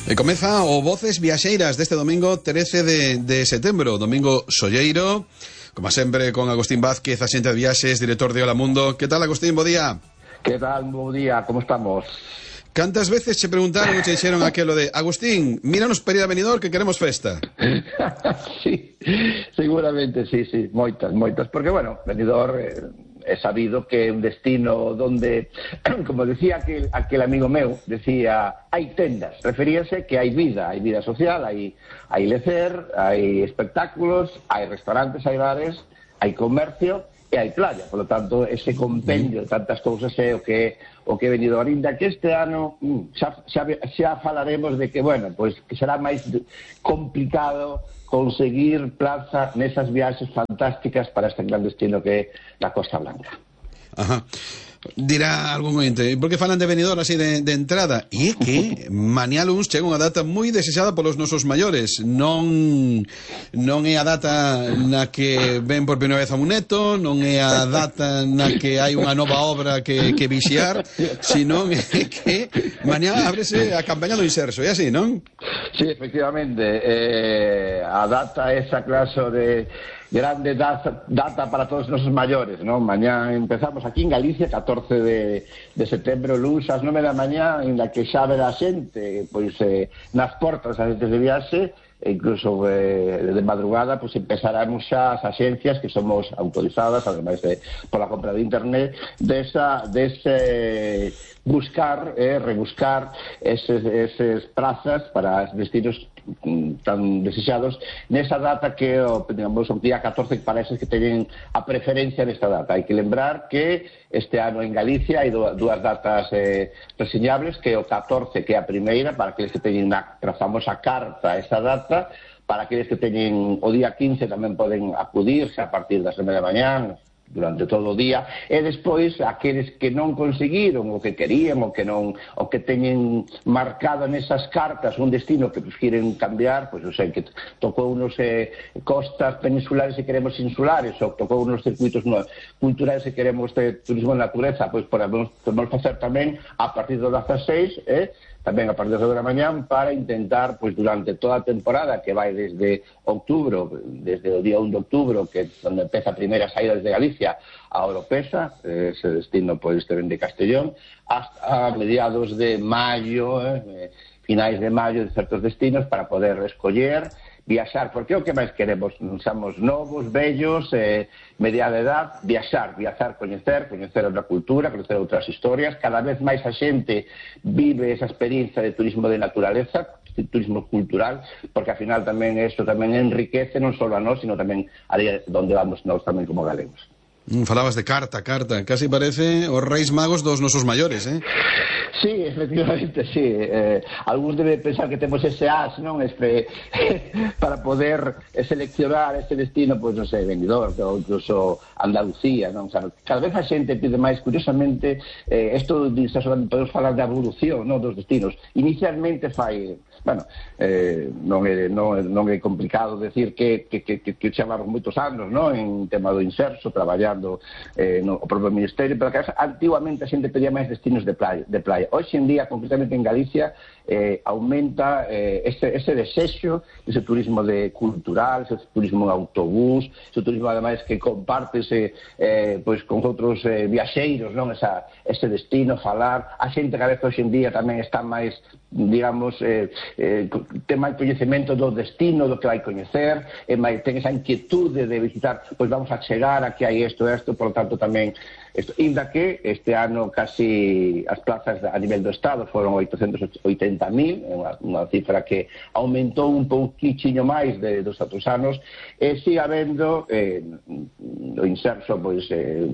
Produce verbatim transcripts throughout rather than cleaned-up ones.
E comeza o Voces Viaxeiras deste domingo trece de, de setembro, domingo solleiro, como sempre con Agustín Vázquez, axente de viaxes, director de Hola Mundo. Que tal, Agustín? Bo día. Que tal? Bo día, como estamos? Cantas veces che preguntaron ou che dixeron aquelo de Agustín, míranos para ir a Benidorm que queremos festa? Sí, seguramente, sí, sí, moitas, moitas, porque, bueno, Benidorm eh, é sabido que é un destino donde, como decía aquel, aquel amigo meu, decía, hai tendas, referíase que hai vida, hai vida social, hai, hai lecer, hai espectáculos, hai restaurantes, hai bares, hai comercio e hai playa, por lo tanto, ese compendio de tantas cousas é o que o que é Benidorm, ainda que este ano xa, xa, xa falaremos de que, bueno, pois que será máis complicado conseguir plaza nesas viaxes fantásticas para este gran destino que é a Costa Blanca. Ajá. Dirá algún ointe, por que falan de Benidorm así de, de entrada? E é que mañá luns chega unha data moi desexada polos nosos maiores. Non non é a data na que ven por primeira vez a un neto, non é a data na que hai unha nova obra que, que vixiar, sino é que mañá ábrese a campaña do Inserso, é así, non? Sí, efectivamente, eh, a data esa clase de grande data, data para todos os nosos maiores, non? Mañá empezamos aquí en Galicia, catorce de, de setembro, luns, ás nove da mañá, en la que xa verá xente, pois, eh, nas portas as xentes de viaxe, e incluso eh, de madrugada, pois empezaremos xa as axencias que somos autorizadas, ademais de pola compra de internet, desa, dese buscar, eh, rebuscar eses, eses prazas para os destinos tan desexados nesa data que o, digamos, o día catorce que parece que teñen a preferencia nesta data. Hai que lembrar que este ano en Galicia hai dúas datas eh, reseñables, que é o catorce, que é a primeira, para aqueles que teñen a, a famosa carta esa data, para aqueles que teñen o día quince tamén poden acudirse a partir das nove da mañá durante todo o día, e despois aqueles que non conseguiron o que querían, o que non, o que teñen marcado nesas cartas un destino que pues, quieren cambiar, pois pues, o sea, que tocou unos eh, costas peninsulares e queremos insulares, ou tocou unos circuitos no, culturales e queremos de turismo de natureza, pois pues, podemos, podemos facer tamén a partir do dezaseis, eh, tamén a partir das nove da mañá, para intentar, pois durante toda a temporada, que vai desde outubro, desde o día un de outubro, que é onde empeza a primeira saída desde Galicia a Oropesa, ese destino pois te ven de Castellón, hasta mediados de maio, eh, finais de maio, de certos destinos, para poder escoller viaxar, porque o que máis queremos, somos novos, vellos, eh, media de edad, viaxar, viaxar, coñecer, coñecer outra cultura, coñecer outras historias. Cada vez máis a xente vive esa experiencia de turismo de naturaleza, de turismo cultural, porque ao final tamén isto tamén enriquece non só a nós, sino tamén a onde vamos nós tamén como galegos. Mm, falabas de carta, carta, casi parece os Reis Magos dos nosos maiores, eh? Sí, efectivamente, sí. Eh, algúns deben pensar que temos ese as, non? Este, para poder seleccionar ese destino, pois, non sei, Benidorm, ou incluso Andalucía, non? O sea, cada vez a xente pide máis, curiosamente, eh, isto podemos falar de evolución, non, dos destinos. Inicialmente fai, bueno, eh, non, é, non, non é complicado decir que, que, que, que, que chamamos moitos anos, non? En tema do Inserso, traballando eh, no o propio Ministerio, pero que antiguamente a xente pedía máis destinos de playa, de playa. Hoxe en día, concretamente en Galicia, eh, aumenta eh, ese, ese desexo, ese turismo de cultural, ese turismo en autobús, ese turismo ademais que compártese eh, pois con outros eh, viaxeiros, non? Esa, ese destino, falar. A xente cada vez hoxe en día tamén está máis, digamos, eh, eh, ten máis coñecemento do destino, do que vai coñecer, e máis, ten esa inquietude de visitar, pois vamos a chegar, aquí hai isto, isto, por lo tanto tamén isto, inda que este ano casi as plazas a nivel do Estado foron oitocentos oitenta mil, unha, unha cifra que aumentou un pouquichiño máis de, dos outros anos, e sigue habendo eh, o Inserso pois, eh,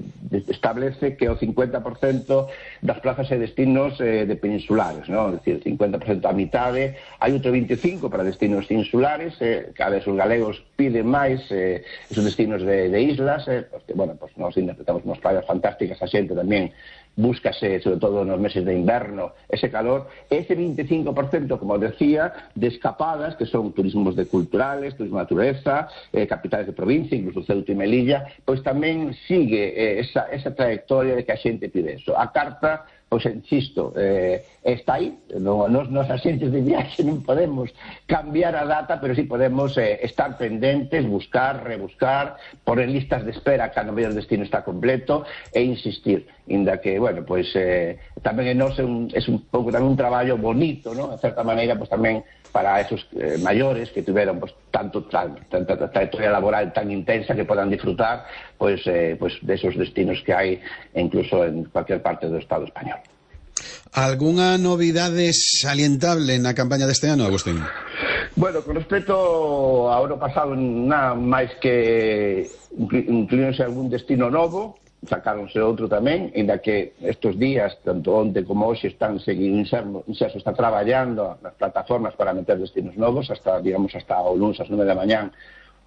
establece que o cincuenta por cento das plazas e destinos eh, de peninsulares, non? É dicir, cincuenta por cento a mitade, hai outro veinticinco por cento para destinos insulares, eh, cada vez os galegos piden máis eh, esos destinos de, de islas, eh, porque, bueno, pues, nós interpretamos unas playas fantásticas, a xente tamén búscase, sobre todo nos meses de inverno, ese calor, ese veinticinco por cento, como decía, de escapadas, que son turismos de culturales, turismo de natureza, eh, capitales de provincia, incluso Ceuta e Melilla, pois tamén sigue eh, esa, esa trayectoria de que a xente pide eso. A carta, pois insisto, eh, está aí, non, nos, nos axentes de viaxe non podemos cambiar a data, pero sí podemos eh, estar pendentes, buscar, rebuscar, poner listas de espera cando o mellor destino está completo e insistir, inda que, bueno, pois eh, tamén en nos é un, é un pouco tamén un traballo bonito, non? De certa maneira, pois tamén para esos eh, maiores que tiveron pues, tanto tan, tanta trayectoria laboral tan intensa que podan disfrutar pues, eh, pues, de esos destinos que hai incluso en cualquier parte do Estado español. ¿Algunha novidade salientable na campaña deste ano, Agustín? Bueno, con respecto ao ano pasado, nada máis que incluíronse algún destino novo, sacáronse outro tamén, ainda que estes días, tanto onte como hoxe, están seguindo, Inserso está traballando nas plataformas para meter destinos novos, hasta, digamos, hasta o lunes ás nove da mañán,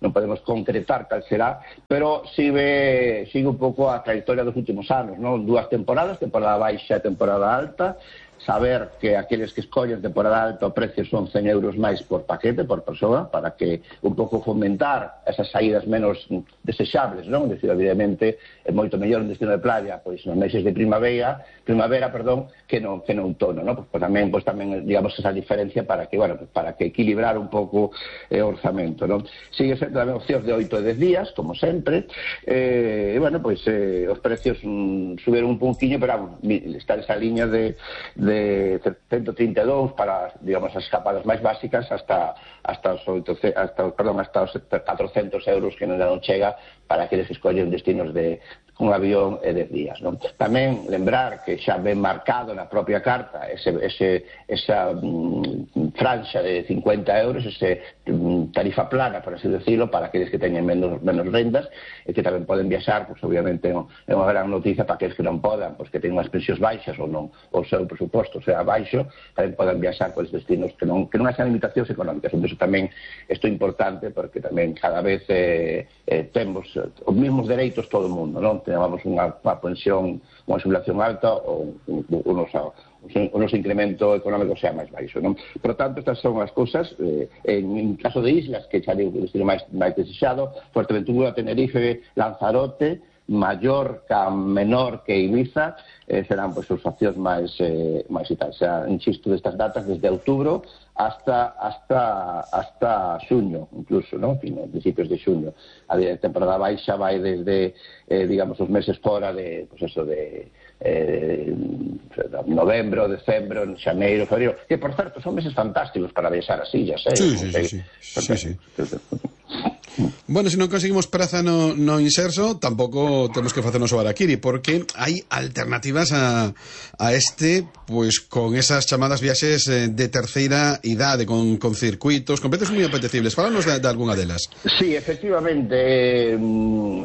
non podemos concretar cal será, pero sigue, sigue un pouco a trayectoria dos últimos anos, non? Dúas temporadas, temporada baixa e temporada alta, saber que aqueles que escollen temporada alta o precio son cen euros máis por paquete, por persoa, para que un pouco fomentar esas saídas menos desexables, non? Decir, evidentemente, é moito mellor un destino de playa, pois nos meses de primavera, primavera, perdón, que no, que no outono, non? Pois, pois tamén, pois tamén, digamos, esa diferencia para que, bueno, para que equilibrar un pouco o eh, orzamento, non? Sigue sendo tamén opcións de oito e dez días, como sempre, e, eh, bueno, pois eh, os precios mm, suberon un pouquiño, pero está esa liña de, de de ciento trinta e dous para, digamos, as escapadas máis básicas hasta hasta os oitocentos, hasta, perdón, hasta os catrocentos euros que non chega para aqueles que escollen destinos de un avión e dez días, non? Tamén lembrar que xa ven marcado na propia carta ese, ese, esa mm, franxa de cincuenta euros, ese mm, tarifa plana, por así decirlo, para aqueles que teñen menos, menos rendas e que tamén poden viaxar, pues, obviamente é unha gran noticia para aqueles que non podan, pues, que teñen unhas pensións baixas ou non, o seu presuposto sea baixo, tamén poden viaxar por destinos que non, que non hacen limitacións económicas. Entón, tamén isto é importante porque tamén cada vez eh, eh, temos os mesmos dereitos todo o mundo, non? Tenemos unha, unha pensión, unha jubilación alta ou unos, unos incremento económico sea máis baixo, non? Por tanto, estas son as cousas eh, en, en caso de islas que xa digo o destino máis, máis desexado, Fuerteventura, Tenerife, Lanzarote, Mallorca, menor que Ibiza, eh, serán pois, pues, as opcións máis, eh, máis e tal. O sea, insisto, destas datas desde outubro hasta hasta hasta xuño, incluso, ¿no? En fin, principios de xuño. A temporada baixa vai desde, eh, digamos, os meses fora de, pues eso, de eh, novembro, decembro, xaneiro, febrero, que, por certo, son meses fantásticos para viaxar así, ya sei. Sí, sí, sí, sí, sí, sí. Bueno, se non conseguimos praza no, no Inserso, tampouco temos que facernos o harakiri, porque hai alternativas a, a este, pues con esas chamadas viaxes de terceira idade, con, con circuitos, con precios moi apetecibles. Fálanos de, de algunha delas. Sí, efectivamente, eh,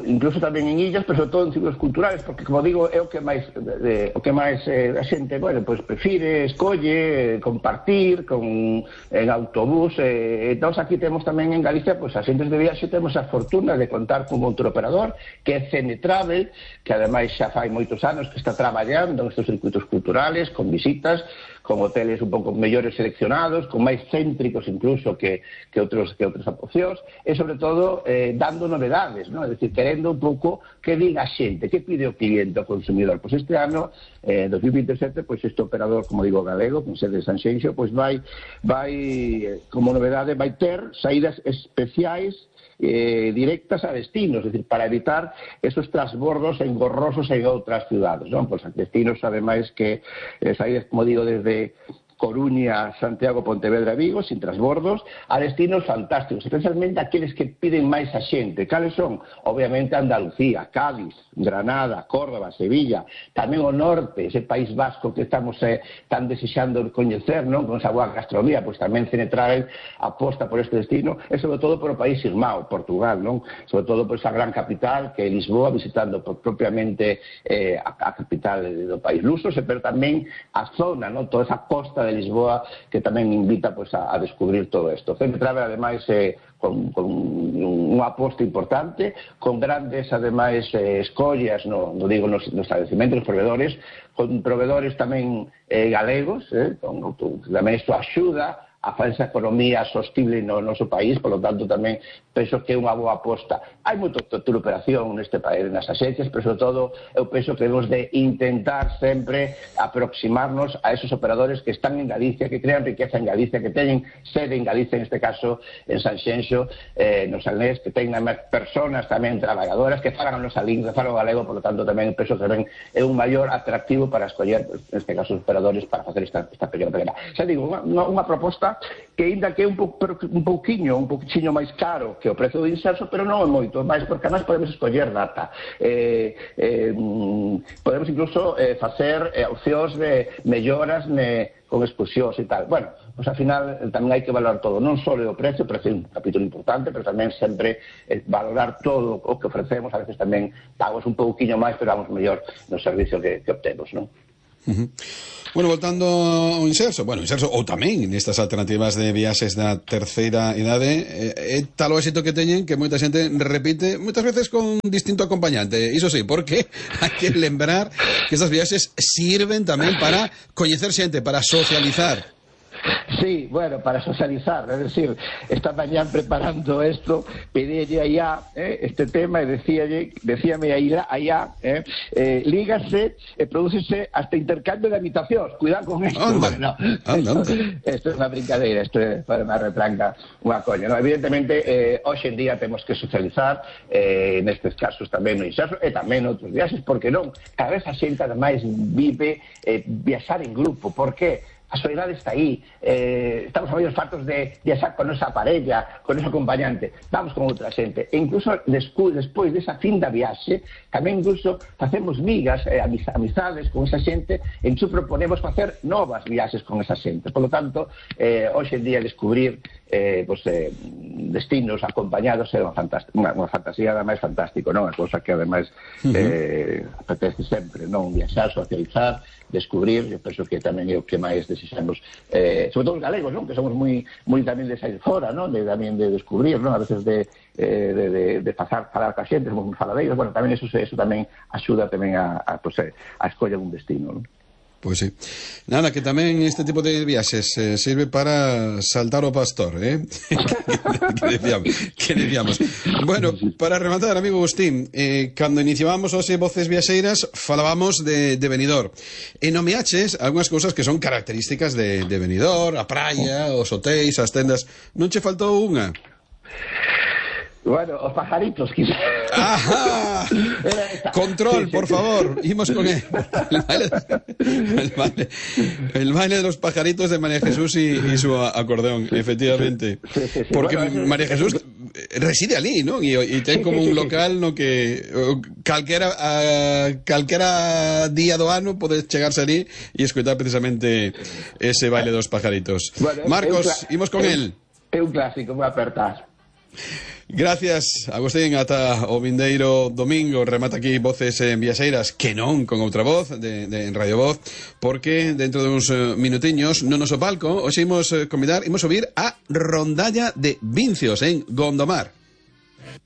incluso tamén en illas, pero sobre todo en ciclos culturales, porque, como digo, é o que máis eh, o que máis eh, a xente, bueno, pues prefire, escolle, eh, compartir con en autobús, eh, entón aquí temos tamén en Galicia, pues a xentes de viaxe temos a fortuna de contar con outro operador que é Cene Travel, que ademais xa fai moitos anos que está traballando en estes circuitos culturales, con visitas, con hoteles un pouco mellores seleccionados, con máis céntricos incluso que, que outros que outras opcións, e sobre todo eh, dando novedades, ¿no? É dicir, querendo un pouco que diga a xente, que pide o cliente, o consumidor. Pois este ano, eh, dos mil veintesete, pois este operador, como digo, galego, con sede de Sanxenxo, pois vai, vai como novedade, vai ter saídas especiais Eh, directas a destinos, es decir, para evitar esos transbordos engorrosos en outras ciudades, non? Pois destinos, ademais, que eh, saídas, como digo, desde Coruña, Santiago, Pontevedra e Vigo, sin transbordos, a destinos fantásticos, especialmente aqueles que piden máis a xente. Cales son? Obviamente Andalucía, Cádiz, Granada, Córdoba, Sevilla, tamén o norte, ese País Vasco que estamos eh, tan desexando coñecer, non? Con esa boa gastronomía, pois tamén Cene Travel aposta por este destino, e sobre todo por o país irmão, Portugal, non? Sobre todo por esa gran capital que é Lisboa, visitando por, propiamente eh, a, a capital do país luso, pero tamén a zona, non? Toda esa costa de Lisboa que tamén invita pues, a, a descubrir todo isto. Cene Travel, ademais, eh, con, con unha aposta importante, con grandes, ademais, eh, escollas, no, no digo nos, nos estabelecimentos, nos proveedores, con proveedores tamén eh, galegos, eh, con, tamén isto axuda a falsa economía sostible no noso país, polo tanto tamén penso que é unha boa aposta. Hai moita operación neste país, nas axencias, pero sobre todo eu penso que debemos de intentar sempre aproximarnos a esos operadores que están en Galicia, que crean riqueza en Galicia, que teñen sede en Galicia, en este caso en Sanxenxo, eh, no Salnés, que teñen personas tamén traballadoras que falan o salín, que falan o galego, por lo tanto tamén penso que tamén é un maior atractivo para escoller, en este caso, os operadores para facer esta, esta pequena pequena. Xa digo, unha, unha proposta que ainda que é un, po, un pouquiño, un pouquiño máis caro que o prezo do inserso, pero non é moito, máis porque además podemos escoller data. Eh, eh, podemos incluso eh, facer eh, opcións de melloras ne, con expulsións e tal. Bueno, pois ao final tamén hai que valorar todo, non só o precio, o precio é un capítulo importante, pero tamén sempre eh, valorar todo o que ofrecemos, a veces tamén pagamos un pouquiño máis, pero vamos mellor no servicio que, que obtemos, non? Uh-huh. Bueno, voltando ao inserso, bueno, inserso ou tamén nestas alternativas de viaxes da terceira idade, é eh, tal o éxito que teñen que moita xente repite, moitas veces con distinto acompañante. Iso sí, porque hai que lembrar que estas viaxes sirven tamén para coñecer xente, para socializar. Sí, bueno, para socializar, es decir, esta mañán preparando esto, pedílle allá eh, este tema e decíalle, decíame allá, allá eh, eh, lígase e eh, prodúcese hasta intercambio de habitacións, cuidado con esto. Anda, bueno, anda, anda. Esto é unha brincadeira, esto é para unha retranca, unha coña, no? Evidentemente, eh, hoxe en día temos que socializar, eh, nestes casos tamén no inserso, e tamén noutros viaxes, porque non, cada vez a xente ademais vive eh, viaxar en grupo, por que? A soidade está aí, eh, estamos a medio fartos de viaxar con nosa parella, con noso acompañante, vamos con outra xente, e incluso despois, despois desa fin da viaxe, tamén incluso facemos migas, eh, amizades con esa xente, e incluso proponemos facer novas viaxes con esa xente. Por lo tanto, eh, hoxe en día descubrir eh, pues, eh, destinos acompañados é unha, unha, unha fantasía ademais fantástico, non? A cousa que ademais eh, apetece sempre, non? Viaxar, socializar, descubrir, eu penso que tamén é o que máis desexamos, eh, sobre todo os galegos, non? Que somos moi moi tamén de sair fora, non? De, tamén de descubrir, non? A veces de, eh, de, de, de pasar, falar ca xente, somos moi faladeiros, bueno, tamén eso, eso tamén axuda tamén a, a, pues, a escoller un destino, non? Pois sí. Nada, que tamén este tipo de viaxes eh, sirve para saltar o pastor, eh? que, decíamos, que decíamos. Bueno, para rematar, amigo Agustín, eh, cando iniciábamos hoxe Voces Viaxeiras, falábamos de, de Benidorm. E nomeaches algunhas cousas que son características de, de Benidorm, a praia, os hotéis, as tendas. Non che faltou unha? Bueno, os pajaritos, quizás. ¡Ajá! Control, sí, sí, por sí. favor. Imos con él. El baile, el, baile, el baile de los pajaritos de María Jesús y, y su acordeón, efectivamente. Sí, sí, sí. Porque bueno, María Jesús reside ali, ¿no? Y, y ten sí, como sí, un sí, local sí. no que calquera, a, calquera día do ano podes chegarse ali e escutar precisamente ese baile dos pajaritos. Bueno, Marcos, imos con él. É un clásico, vou apertar. Gracias, Agustín, ata o vindeiro domingo. Remata aquí Voces en Viaxeiras, que non con outra voz de, de en Radio Voz, porque dentro de uns uh, minutiños no noso palco hoxe imos uh, convidar, imos subir a Rondalla de Vincios en Gondomar.